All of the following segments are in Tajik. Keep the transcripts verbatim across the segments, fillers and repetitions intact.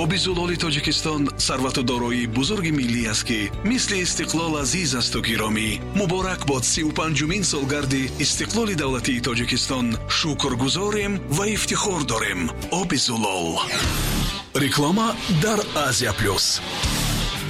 Оби зулоли Тоҷикистон сарвату дороии бузурги миллӣ аст, ки мисли истиқлол азиз асту гиромӣ. Муборак бод сию панҷумин солгарди истиқлоли давлатии Тоҷикистон. Шукргузорем ва ифтихор дорем. Оби зулол. Реклама дар Азия Плюс.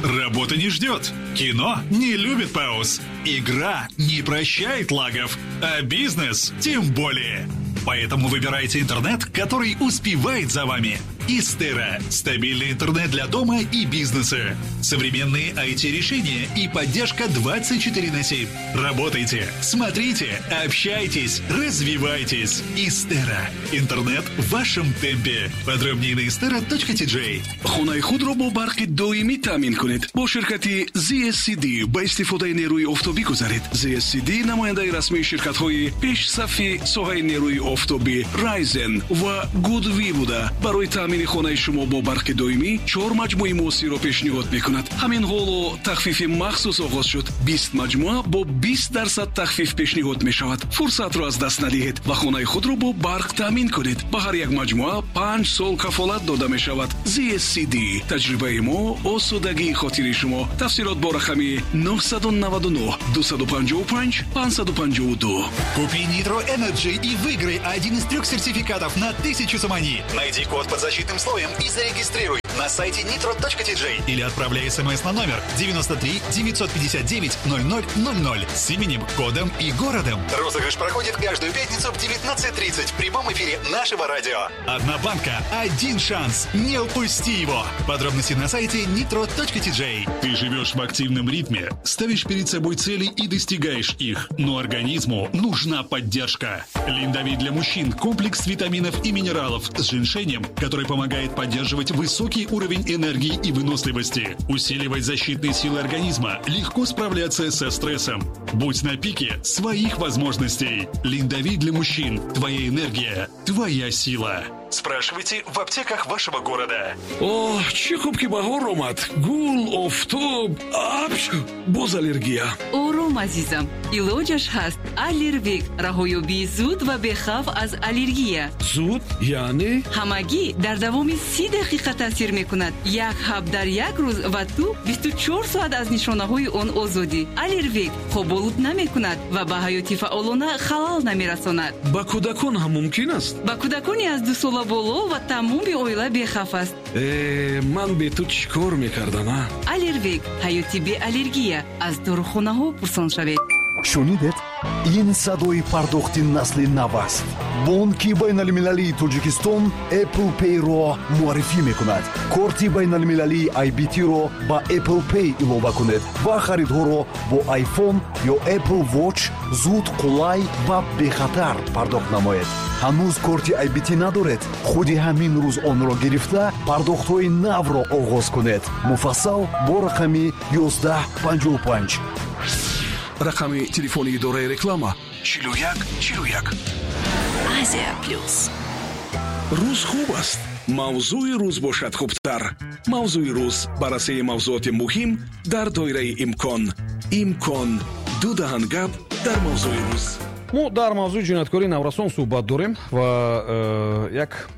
Работа не ждет. Кино не любит пауз. Игра не прощает лагов. А бизнес тем более. Поэтому выбирайте интернет, который успевает за вами. Истера. Стабильный интернет для дома и бизнеса. Современные ай ти-решения и поддержка двадцать четыре на семь. Работайте, смотрите, общайтесь, развивайтесь. Истера. Интернет в вашем темпе. Подробнее на истера точка ти джей. Хонаи худро бо барқи доимӣ таъмин кунед. Бо ширкати зет эс си ди ба истифодаи нерӯи офтобӣ гузаред. зет эс си ди намояндаи расмии ширкатҳои пешсафи соҳаи нерӯи офтобӣ Райзен ва Гудви буда, барои таъмини хонаи шумо бо барқи доимӣ чор маҷмӯи муосирро пешниҳод мекунад. Ҳамин ҳоло тахфифи махсус оғоз шуд. Бист маҷмӯа бо бист дарсад тахфиф пешниҳод мешавад. Фурсатро аз даст надиҳед ва хонаи худро бо барқ таъмин кунед. Ба ҳар як маҷмӯа панҷ сол кафолат дода мешавад. зет эс си ди таҷрибаи мо, осудагии хотири шумо. Тафсилот бо рақами нӯҳсаду наваду нӯҳ дусаду панҷоҳу панҷ панҷсаду панҷоҳу ду. Купи Nitro Energy и выиграй один из трех сертификатов на тысячу сомони. Найди код под защитным слоем и зарегистрируй на сайте nitro точка ти джей или отправляй смс на номер девяносто три девятьсот пятьдесят девять ноль ноль ноль ноль с именем, кодом и городом. Розыгрыш проходит каждую пятницу в девятнадцать тридцать в прямом эфире нашего радио. Одна банка, один шанс. Не упусти его. Подробности на сайте nitro точка ти джей. Ты живешь в активном ритме, ставишь перед собой цели и достигаешь их. Но организму нужна поддержка. Линдовит для мужчин – комплекс витаминов и минералов с женьшенем, который помогает поддерживать высокий уровень энергии и выносливости, усиливать защитные силы организма, легко справляться со стрессом. Будь на пике своих возможностей. Линдовит для мужчин. Твоя энергия, твоя сила. Спрашивайте в аптеках вашего города. О, чӣ хуб ки баҳор омад. Гул, офтоб, апш, боз аллергия. Ором, азизам, илоҷаш ҳаст. Аллервик, раҳоёбии зуд ва бехавф аз аллергия. Зуд яъне? Ҳамагӣ дар давоми си дақиқа таъсир мекунад. Як ҳаб дар як рӯз ва ту бисту чор соат аз нишонаҳои он озодӣ. Аллервик хоболуд намекунад ва ба ҳаёти фаъолона халал намерасонад. Ба кӯдакон ҳам мумкин аст? Ба кӯдакони аз ду сола боло ва тамоми оила бехавф аст. Э, ман бе ту чӣ кор мекардам, а? Аллервик, ҳаёти беаллергия. Аз дорухонаҳо пурсон шавед. Шунидед? Ин садои пардохти насли нав аст. Бонки байналмилалии Тоҷикистон Apple Pay-ро муаррифӣ мекунад. Корти байналмилалии ай би ти-ро ба Apple Pay илова кунед ва харидҳоро бо iPhone ё Apple Watch зуд, қулай ва бехатар пардохт намоед. Ҳанӯз корти ай би ти надоред? Худи ҳамин рӯз онро гирифта пардохтҳои навро оғоз кунед. Муфассал бо рақами ёздаҳ панҷоҳу панҷ. Рақами телефони идораи реклама чилу як чилу як. Азия Плюс. Рӯз хуб аст. Мавзӯи рӯз бошад хубтар. Мавзӯи рӯз баррасии мавзӯоти муҳим дар доираи имкон. Имкон. Ду даҳан гап дар мавзӯи рӯз. Мо дар мавзӯи ҷинояткории наврасон суҳбат дорем ва, э, як,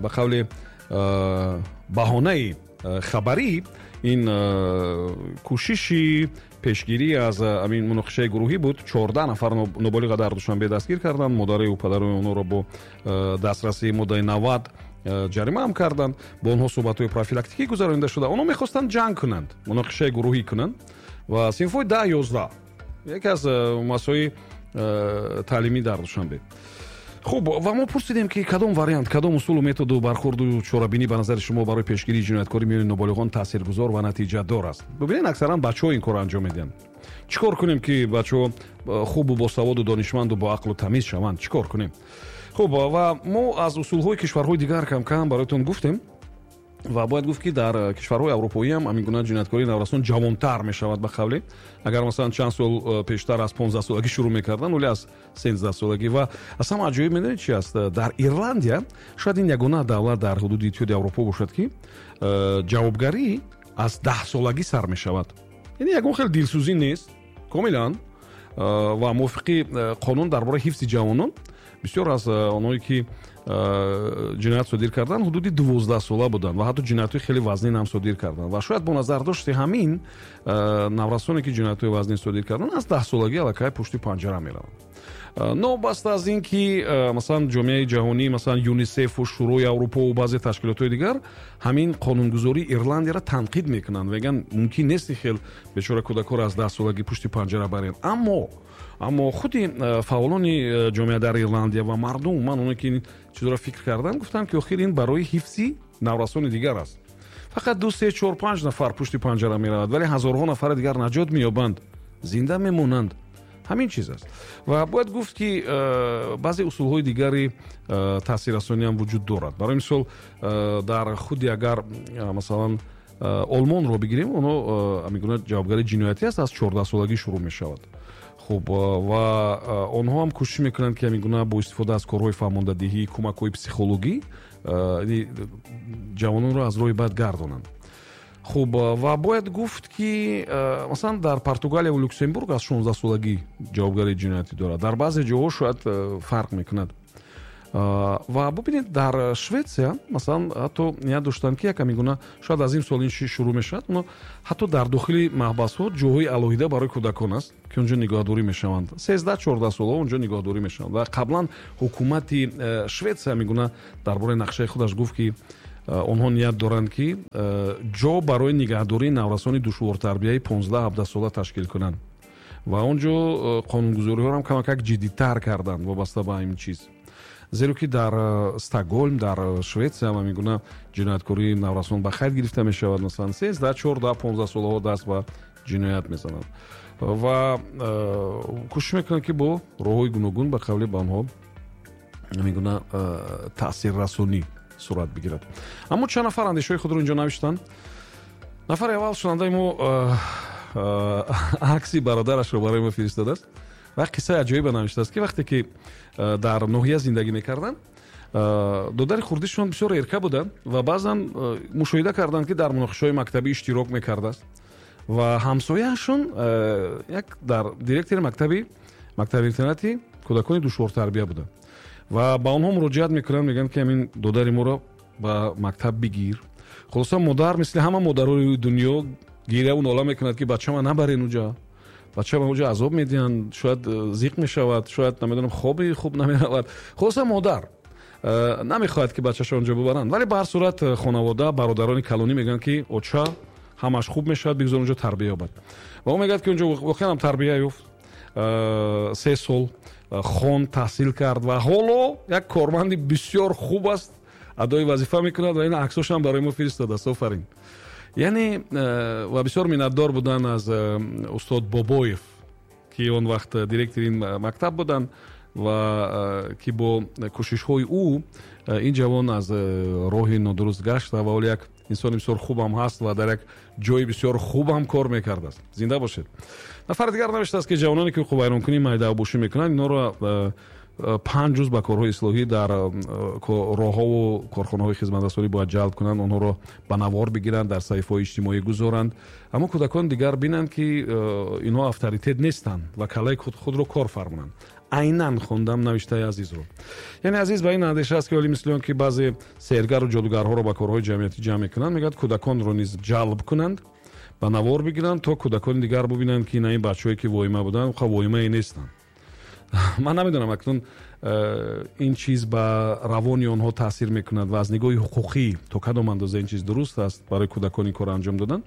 ба қавли, э, баҳонаи, э, хабарӣ ин, э, кӯшиши пешгирӣ аз ҳамин муноқишаи гурӯҳӣ буд. Чордаҳ нафар ноболиға дар Душанбе дастгир карданд. Модараю падарои онҳоро бо, э, дастрасии моддаи навад, э, ҷарима ҳам карданд. Бо онҳо суҳбатҳои профилактикӣ гузаронида шуда. Онҳо мехостанд ҷанг кунанд, муноқишаи гурӯҳӣ кунанд ва синфҳои даҳ ёздаҳ яке аз, э, муассисаҳои, э, таълимӣ дар Душанбе. Хуб, ва мо пурсидем ки кадом вариант, кадом усулу методу бархӯрду чорабинӣ ба назари шумо барои пешгирии ҷинояткорӣ миёни ноболиғон таъсиргузор ва натиҷадор аст. Бубинед, аксаран бачаҳо ин корро анҷом медиҳанд. Чӣ кор кунем ки бачаҳо хубу босаводу донишманду бо ақлу тамиз шаванд? Чӣ кор кунем? Хуб, ва мо аз усулҳои кишварҳои дигар кам-кам бароятон гуфтем ва бояд гуфт ки дар кишварҳои аврупоӣ ҳам ҳамин гуна ҷинояткории наврасон ҷавонтар мешавад ба қавле. Агар масалан чанд сол пештар аз понздаҳ солагӣ шурӯъ мекарданд, вале аз сенздаҳ солагӣ. Ва аз ҳама аҷоиб медонед чи аст? Дар Ирландия шояд ин ягона давлат дар ҳудуди Иттиҳоди Аврупо бошад ки ҷавобгарӣ аз даҳ солагӣ сар мешавад. Яъне ягон хел дилсӯзӣ нест комилан, ва мувофиқи қонун дар бораи ҳифзи ҷавонон бисёр аз онҳое ки ҷиноят содир карданд, ҳудуди дувоздаҳ сола буданд ва ҳатто ҷиноятҳои хеле вазнин ҳам содир карданд. Ва шояд бо назардошти ҳамин наврасоне, ки ҷиноятҳои вазнин содир карданд, аз даҳсолагӣ аллакай пушти панҷара мераванд. Новобаста аз ин ки, масалан, ҷомеаи ҷаҳонӣ, масалан, ЮНИСЕФу Шӯрои Аврупову баъзе ташкилотҳои дигар ҳамин қонунгузории Ирландияро танқид мекунанд, мегӯянд, мумкин нест хел бечора кӯдакҳоро аз даҳсолагӣ пушти панҷара барен. Аммо аммо худи фаъолони ҷомеа дар Ирландия ва мардум, умуман оне ки ин чизро фикр карданд, гуфтанд, ки охир ин барои ҳифзи наврасони дигар аст. Фақат ду, се, чор, панҷ нафар пушти панҷара меравад, вале ҳазорҳо нафари дигар наҷот меёбанд, зинда мемонанд. Ҳамин чиз аст. Ва бояд гуфт, ки баъзе усулҳои дигари таъсиррасонӣ ҳам вуҷуд дорад. Барои мисол, дар худи агар, масалан, Олмонро бигирем, онҳо ҳамин гуна ҷавобгарии ҷиноятӣ аст, аз чордаҳсолагӣ шурӯъ мешавад. Хуб, ва онҳо ҳам кӯшиш мекунанд, ки ҳамин гуна бо истифода аз корҳои фаҳмондадиҳӣ, кӯмакҳои психологӣ ҷавононро аз роҳи бад гардонанд. Хуб, ва бояд гуфт, ки, масалан, дар Португалия ва Люксембург аз шонздаҳсолагӣ ҷавобгарии ҷиноятӣ дорад. Дар баъзе ҷоҳо шояд фарқ мекунад. Ва бубинед, дар Шветсия, масалан, ҳатто ният доштанд, ки як ҳамин гуна, шояд аз ин сол ин шурӯъ мешавад, но ҳатто дар дохили маҳбасҳо ҷоҳои алоҳида барои кӯдакон аст, ки онҷо нигоҳдорӣ мешаванд. Сездаҳ, чордаҳ солаҳо онҷо нигоҳдорӣ мешаванд. Ва қаблан ҳукумати Шветсия ҳамин гуна дар бораи нақшаи худаш гуфт, ки онҳо ният доранд, ки ҷо барои нигаҳдории наврасони душвортарбияи понздаҳ ҳабдаҳ сола ташкил кунанд. Ва он ҷо қонунгузориҳоро ҳам камакак ҷиддитар карданд вобаста ба ин чиз. Зеро ки дар Стокгольм, дар Шветсия ҳам ҳамин гуна ҷинояткории наврасон ба қайд гирифта мешавад. Масалан, сездаҳ, чордаҳ, понздаҳ солаҳо даст ба ҷиноят мезананд ва кӯшиш мекунанд, ки бо роҳҳои гуногун ба қавли ба онҳо ҳамин гуна таъсиррасонӣ сурат бигирад. Аммо чанд нафар андешаҳои худро инҷо навиштанд. Нафари аввал, шунандаи мо, акси бародарашро барои мо фиристодааст ва қиссаи аҷоибе навиштааст, ки вақте ки дар ноҳия зиндагӣ мекарданд, додари хурдишон бисёр эрка буданд ва баъзан мушоҳида карданд, ки дар муноқишаҳои мактабӣ иштирок мекардааст. Ва ҳамсояашон як дар директори мактаби мактаби интернати кӯдакони душвортарбия буданд ва ба онҳо муроҷиат мекунанд, мегӯянд, ки ҳамин додари моро ба мактаб бигир. Хулоса, модар мисли ҳама модарои дунё гиряву нола мекунад, ки бачама набарен уҷа, бачама уҷа азоб медиҳанд, шояд зиқ мешавад, шояд, намедонам, хоби хуб намеравад. Хулоса, модар намехоҳад, ки бачаашро онҷо бибаранд, вале ба ҳар сурат хонавода, бародарони калонӣ мегӯянд, ки оча, ҳамаш хуб мешавад, бигзор онҷо тарбия ёбад. Ва ӯ мегӯяд, ки онҷо воқеан ҳам тарбия ёфт, се сол хон, таҳсил кард ва ҳоло як корманди бисёр хуб аст, адои вазифа мекунад ва ин аксошам барои мо фиристодааст. Офарин. Яъне ва бисёр миннатдор буданд аз устод Бобоев, ки он вақт директори ин мактаб буданд ва ки бо кӯшишҳои ӯ ин ҷавон аз роҳи нодуруст гашта ва ҳоло як инсони бисёр хубам ҳаст ва дар як ҷои бисёр хубам кор мекардааст. Зинда бошед. Нафари дигар навиштааст, ки ҷавононе, ки ҳуқуқвайронкунии майдаабошӣ мекунанд, инҳоро панҷ рӯз ба корҳои ислоҳӣ дар роҳҳову корхонаҳои хизматрасонӣ бояд ҷалб кунанд, онҳоро ба навор бигиранд, дар саҳифаҳои иҷтимоӣ гузоранд, аммо кӯдакон дигар бинанд, ки инҳо авторитет нестанд ва калаи худро кор фармонанд. Айнан хондам навиштаи Азизро. Яъне Азиз ба ин андеша аст, ки оли мисли он ки баъзе сеҳргару ҷодугарҳоро ба корҳои ҷамъиятӣ ҷамъ мекунанд, мегӯяд, кӯдаконро низ ҷалб кунанд, ба навор бигиранд, то кӯдакони дигар бубинанд, ки на ин бачаҳое, ки воима буданд, ха воимае нестанд. Ман намедонам, акнун ин чиз ба равони онҳо таъсир мекунад ва аз нигоҳи ҳуқуқӣ то кадом андоза ин чиз дуруст аст барои кӯдакон ин корро анҷом додан.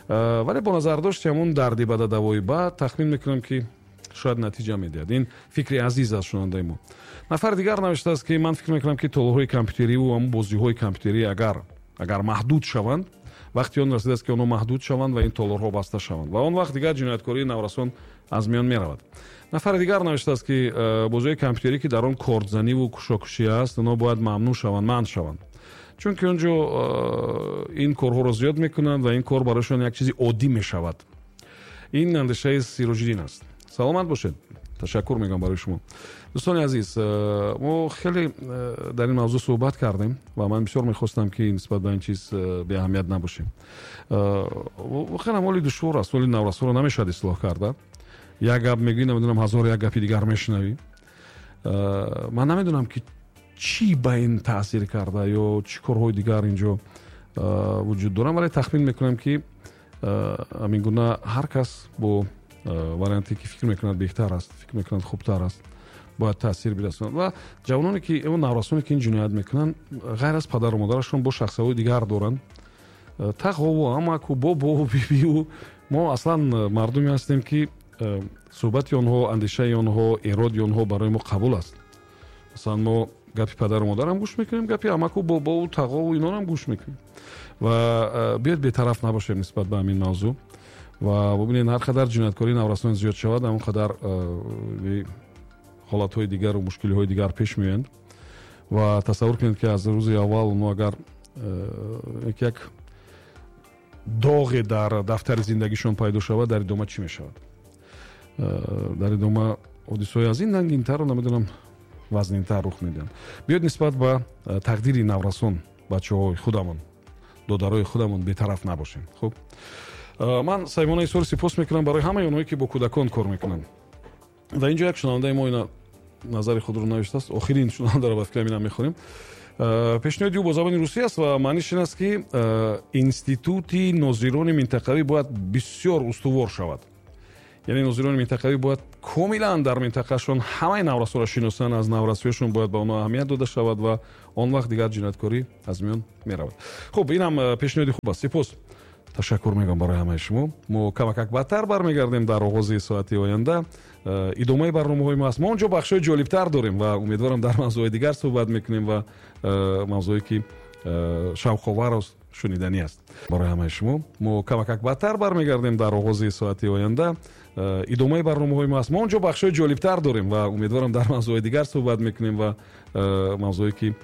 Вале бо назардошти ҳамон дарди бада давои бад, тахмин мекунам, ки шояд натиҷа медиҳад. Ин фикри Азиз аст, шунандаи мо. Нафари дигар навиштааст, ки ман фикр мекунам, ки толорҳои компютериву ҳамон бозиҳои компютерӣ агар агар маҳдуд шаванд, вақти он расидааст, ки онҳо маҳдуд шаванд ва ин толорҳо баста шаванд ва он вақт дигар ҷинояткории наврасон аз миён меравад. Нафари дигар навиштааст, ки бозиҳои компютерӣ, ки дар он кордзаниву кушокушӣ аст, онҳо бояд мамнӯъ шаванд, манъ шаванд, чунки он ҷо ин корҳоро зиёд мекунанд ва ин кор барояшон як чизи оддӣ мешавад. Ин андешаи Сироҷиддин аст. Саломат бошед. Ташаккур мегӯям барои шумо. Дӯстони азиз, мо хеле дар ин мавзӯъ суҳбат кардем ва ман бисёр мехостам, ки нисбат ба ин чиз беаҳамият набошем. Воқеан ҳоли душвор аст, ҳоли наврасонро намешавад ислоҳ карда. Як гап мегӯӣ, намедонам, ҳазор як гапи дигар мешунавӣ. Ман намедонам, ки Чӣ ба ин таъсир карда ё чӣ корҳои дигар инҷо вуҷуд доранд, вале тахмин мекунам, ки ҳамин гуна ҳар кас бо варианте, ки фикр мекунад беҳтар аст, фикр мекунад хубтар аст, бояд таъсир бирасонад. Ва ҷавононе ки, наврасоне ки ин ҷиноят мекунанд, ғайр аз падару модарашон бо шахсиятҳои дигар доранд, тағову, амаку, бобову, бибию. Мо аслан мардуме ҳастем, ки суҳбати онҳо, андешаи онҳо, эроди онҳо барои мо қабул аст. Масалан, мо гапи падару модарам гӯш мекунем, гапи амаку, бобову, тағову инорам гӯш мекунем. Ва биёед бетараф набошем нисбат ба ҳамин мавзӯъ ва бубинед, ҳар қадар ҷинояткории наврасон зиёд шавад, ҳамон қадар ҳолатҳои дигару мушкилиҳои дигар пеш меоянд. Ва тасаввур кунед, ки аз рӯзи аввал мо агар як доғе дар дафтари зиндагишон пайдо шавад, дар идома чӣ мешавад? Дар идома ҳодисаҳои аз ин нангинтару, намедонам, вазнинтар рух медиҳанд. Биёед нисбат ба тақдири наврасон, бачаҳои худамон, додарои худамон бетараф набошем. Хуб, ман Саймона Исор сипос мекунам барои ҳамаи онҳое, ки бо кӯдакон кор мекунанд. Ва инҷо як шунавандаи мо ина назари худро навиштааст. Охирин шунавандаро ба фикрам инам мехонем. Пешниҳоди ӯ бо забони русӣ аст ва маъниш ин аст, ки институти нозирони минтақавӣ бояд бисёр устувор шавад. Яъне нозирони минтақавӣ бояд комилан дар минтақашон ҳамаи наврасоро шиносанд, аз наврасиёшон бояд ба онҳо аҳамият дода шавад ва он вақт дигар ҷинояткорӣ аз миён меравад. Хуб, инам пешниҳоди хуб аст. Сипос, ташаккур мегӯям барои ҳамаи шумо. Мо камакак баъдтар бармегардем дар оғози соати оянда. Идомаи барномаҳои мо аст. Мо онҷо бахшҳои ҷолибтар дорем ва умедворам, дар мавзӯъҳои дигар суҳбат мекунем ва мавзӯе, ки шавқовару шуниданӣ аст барои ҳамаи шумо. Мо камакак баъдтар бармегардем дар оғози соати оянда. Идомаи барномаҳои мо аст. Мо онҷо бахшҳои ҷолибтар дорем ва умедворам, дар мавзӯъҳои дигар суҳбат мекунем ва мавзӯе, ки